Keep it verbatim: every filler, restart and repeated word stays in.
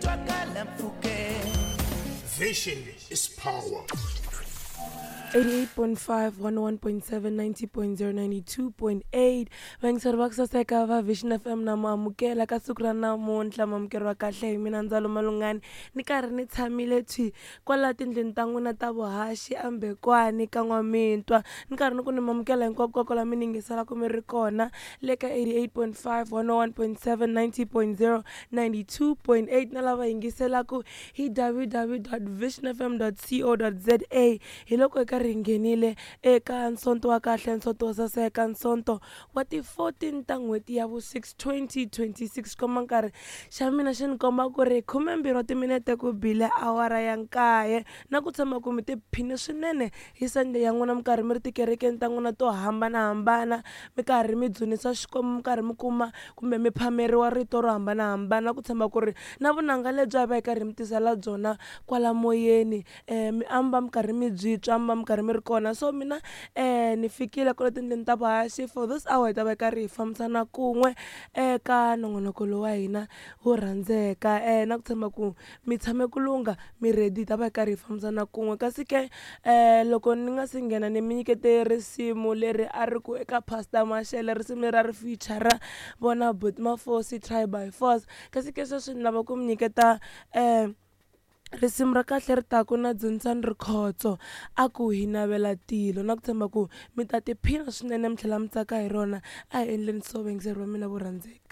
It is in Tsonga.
twakala mpfhukeni. Vision is power. eighty-eight point five, one oh one point seven, ninety point zero, ninety-two point eight. Vayingiseri va ku saseka va Vision F M na muamukela ka siku ra namuntlha, muamukeri wa kahle hi mina Ndzalo Malungani. Ni karhi ni tshamile thwi kwala tindlwini ta n'wina ta vuhaxi eMbekwani ka N'wamitwa. Ni karhi ni ku ni mamukela hinkwako kwala mi ni yingiselaka mi ri kona le ka eighty-eight point five, one oh one point seven, ninety point zero, ninety-two point eight na lava yingiselaka hi w w w dot vision f m dot co dot z a. Hi loko hi karhi hi nghenile eka nsonto wa kahle, nsonto wo saseka, nsonto wa ti fourteen ta n'hweti ya vu six twenty twenty-six. Komba nkarhi xa mina xi ni komba ku ri khumembirhi wa timinete ku bile awara ya nkaye, na ku tshama ku mi tiphine swinene hi Sunday ya n'wina, mi karhi mi ri tikerekeni ta n'wina to hambanahambana, mi karhi mi dzunisa Xikwembu, mi karhi mi kuma kumbe mi phameriwa rito ro hambanahambana, ku tshama ku ri na vunanga lebyi a va hi karhi mi tisela byona kwala moyeni, eh, mi amba mi karhi mi byi twa, mi va mi karhi mi ri kona. So mina, eh, ni fikile kwala tindlwini ta vuhaxi for this hour, hi ta va hi karhi hi fambisana kun'we eka nongonoko lowu wa hina wo rhandzeka, eh, na ku tshemba ku mi tshame ku lungha, mi ready, hi ta va hi karhi hi fambisana kun'we. Kasi ke, eh, loko ni nga si nghena ni mi nyikete risimu leri a ri ku eka Pastor Mashele, risimu leri a ri feature-ra vona Buti Mafosi, Try by Force. Kasi ke sweswi ni lava ku mi nyiketa, eh, risimu ra kahle ri taku na Dzunisani Rikhotso, a ku hi navela tilo, na ku tshemba ku mi ta tiphina swinene mi tlhela mi tsaka hi rona. A hi endleni so, vayingiseri va mina vo rhandzeka.